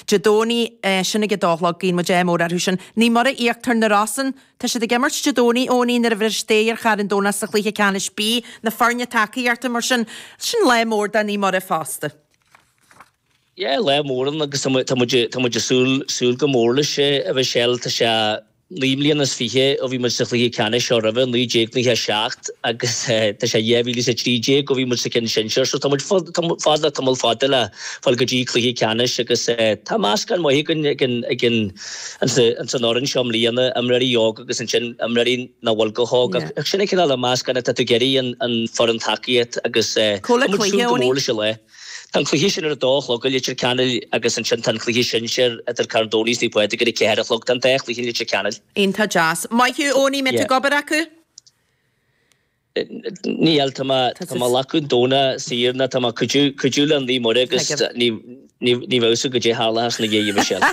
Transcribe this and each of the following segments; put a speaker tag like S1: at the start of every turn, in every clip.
S1: Dé Domhnaigh, sin ag a dó a chlog, guíonn muid ádh mór orthu sin. Naomh Muire Íochtar na Rosann, tá siad ag imirt Dé Domhnaigh, Eoiní, nuair a bhris Dair ar Charn Domhnach sa chluiche ceannais B, na foirne tacaíochta, mar sin, sin lá mór do Naomh Muire fosta.
S2: Yeah, lá mór ann agus tá muid, tá muid ag súil, súil go mór leis, a Mhichelle, tá sé 9 mbliana is 20 ó bhí muid sa chluiche ceannais seo roimhe, 1997, agus tá sé 2013 ó bhí muid sa cheann sinsear, so tá muid fada, tamall fada le fáil go dtí cluiche ceannais agus tá meascán maith againn ag an, ag an, ins an fhoireann seo i mbliana, imreoirí óga agus ansin imreoirí nach bhfuil chomh hóg ach sin an cineál de mheascán atá tú ag iarraidh an foireann tacaíocht agus tá muid ag súil go mór leis an lá. Tá an cluiche sin ar a dó a chlog i Leitir Ceanainn agus ansin tá an cluiche sinsir idir Carn Domhnach is Naomh Pádraig ar a 4 a chlog. Tá an dá chluiche i Leitir Ceanainn.
S1: Iontach deas. Maith thú, Eoiní, mbeidh tú ag obair acu?
S2: Níl, tá mé tá mé ag glacadh an Domhnach saor ná tá mé ag cuidiú cuidiú le Naomh Muire agus ní ní ní bheadh fhios agat goidé tharlóchas ina dhiaidh, Michelle.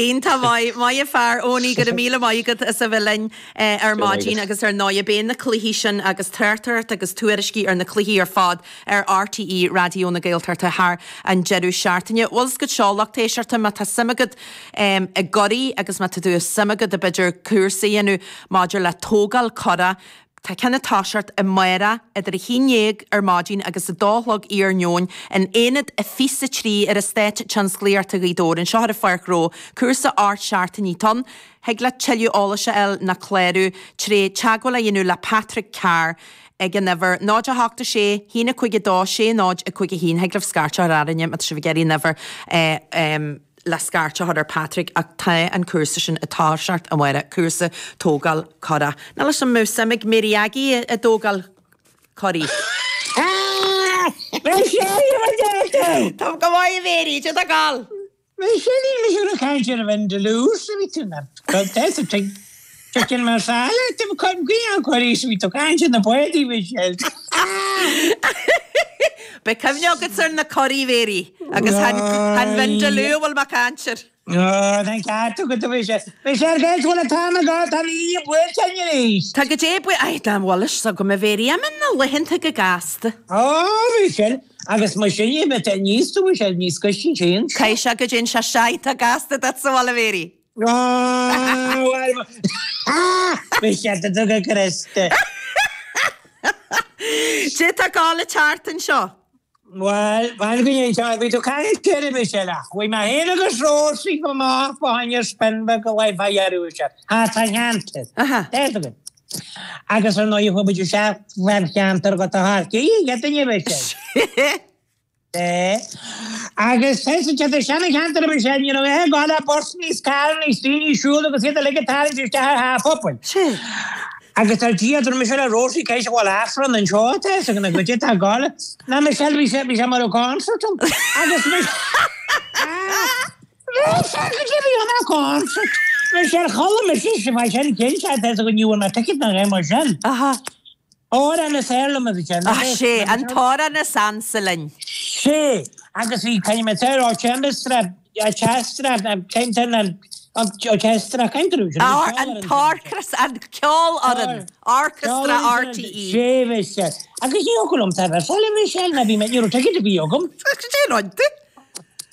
S1: Iontach maith, maith an fear, Eoiní, go raibh míle maith agat as a bheith linn ar maidin agus ar ndóigh beidh na cluichí sin agus tráchtaireacht agus tuairiscí ar na cluichí ar fad ar RTÉ Raidió na Gaeltachta thar an deireadh seachtaine. Bhfuil 's agat seo, lucht éisteachta, má tá suim agat i gcuraí agus má tá tú suim agat i b'fhéidir cúrsa a dhéanamh maidir le tógáil curach, tá ceann ag toiseacht amárach idir a haon dhéag ar maidin agus a dó a chlog iarnóin in Aonad 23 ar Eastát Tionsclaíochta Ghaoth Dobhair, anseo ar an Pháirc Ghnó. Cúrsa 8 seachtainí atá ann. Thig leat tuilleadh eolais a fháil ná clárú tré teagmháil a dhéanamh le Patrick Carr ag an uimhir 0 8 6 1 5 2 6 0 5 1. Thig libh scairt a chur orainne má tá sibh ag iarraidh an uimhir le scairt a chur ar Patrick ach tá an cúrsa sin ag toiseacht amárach, cúrsa tógáil curach. Níl 'fhios a'm an mbeadh suim ag Mary Aggie i dtógáil curaí. Tá go maith a Mhary, cad é tá ag gabháil?
S3: Michelle, Níl mise ag caint ar Vindaloo sa bhí tú na Tá chicken marsala tá guí an cuirí sa bhí tú caint ar na bádaí Michelle.
S1: Beidh cuimhne agat ar na curaí Mhary agus chan Vindaloo a bhfuil mé ag caint air.
S3: Tá an ceart agat a Mhichelle. Michelle cén bhfuil an t-am agat tá an oíche buailte againn arís.
S1: Tá go dé buí Ai dá bhfuil fhios agam a Mhary imíonn na laethanta go gasta.
S3: Ó Michelle Agus mar sin é, beidh níos tú sé níos coisí sin.
S1: Caithfidh sé go dtéann sé séanta gasta duit sa bhaile, Mary.
S3: Bhí sé do go Criosta.
S1: Cad é tá ag gabháil an tseachtain seo.
S3: Bhuel, fan go ndéan bhí tú caint ar bith eile. Chuaigh mé féin agus Róisín amach fá choinne spin beag a leigh fá dheireadh sé. Thart fán cheantar. Tá againn. Agus ar ndóigh chuaigh muid isteach fán cheantar go tá thart. Cé duine a bheith sé? É. Agus tá sa tá seana-cheantar a bhí sé, ní raibh aon ghá le busanna is carranna is daoine ag siúl agus iad uilig ag tarraingt isteach ar theach pobail. Agus ar Dia, dúirt mise le Rosie, cé go bhfuil Aifreann anseo tá fhios againn goidé tá gá le. Ná Michelle, bhí sé, bhí sé mar a concert ann. Agus Michelle, Michelle, chuala mise sa bhfad sin cinnte, tá fhios againn ní bhfuair mé ticket ná aon mar sin. Amhrán is fearr liom a bhí sé.
S1: Ach sé, an t-amhrán is ansa linn.
S3: Sé, agus bhí caithfidh mé a orchestra, orchestra, cén orchestra, cén trú sin?
S1: An t-orchestra, an ceolfhoireann, Orchestra RTÉ.
S3: Sé, bhí sé. Agus ní thiocfadh liom taobh eile a bhí sé, ná bhí mé, ní raibh ticket ar bith agam.
S1: Cad é an rud?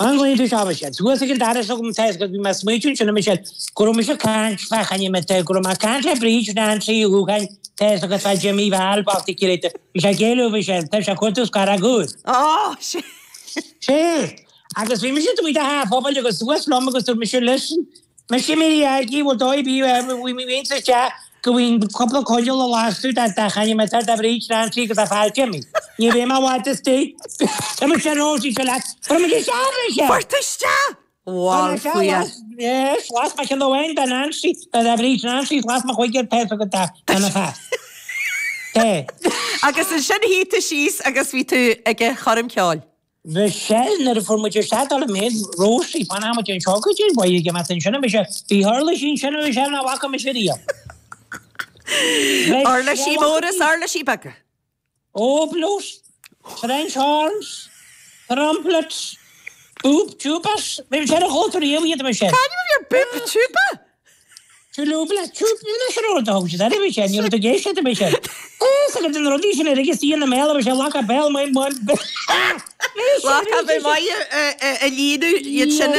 S3: An bhfuil tú seo Michelle? Suas ag an doras agam tá fhios agat bhí mé ag smaoitiú ansin a Michelle go raibh mise ag caint fá choinne mé go raibh mé ag caint le Bríd Nancy Uí Dhúcháin tá fhios agat fá Jimmy Val bocht ag iarraidh bhí sé ag éileamh Michelle tá sé ag cuartú scarrach úr.
S1: Ó, sé.
S3: Sé. Agus bhí mise taobh amuigh de theach an phobail agus suas liom agus dúirt mise listen Mise Mary Aggie, bhfuil dóigh ar bith bhí mé féin sa teach go bhfuil cúpla coinneal a lasadh dá dá chainne mé tá dá Bhríd Nancy agus dá fear Jimmy. Ní bheidh mé i bhfad istigh. Tá mise Rosie seo leat. Fuair muid isteach mise!
S1: Fuair tú isteach! Bhal faoi.
S3: Yes, las mé ceann amháin dá Nancy, dá dá Bhríd Nancy, las mé chuige ar pé go dá dá na fear.
S1: Té. Agus ansin shuigh tú síos agus bhí tú ag an choirm ceoil.
S3: Michelle, Nuair a fuair muid isteach dul i méid Rosie, fanfaidh muid anseo go dtí an bhaile ag imeacht ansin a mise, bhí uirlisí ansin a Michelle nach bhfaca mise riamh.
S1: Uirlisí móra is uirlisí beaga.
S3: Oboes, French horns, trumpets, boob tubas, bhí sé ar a chultúr riamh iad a Michelle.
S1: C'ainm a bhí ar boob tuba?
S3: Tú lúb le tú na sin rud a thug siad air a bhí sé, ní raibh tú ag éisteacht a bhí sé. Is agus na rudaí sin ar agus í ina mbéal a bhí sé lacha béal maith maith.
S1: Lacha bheith maith a líonadh iad sin.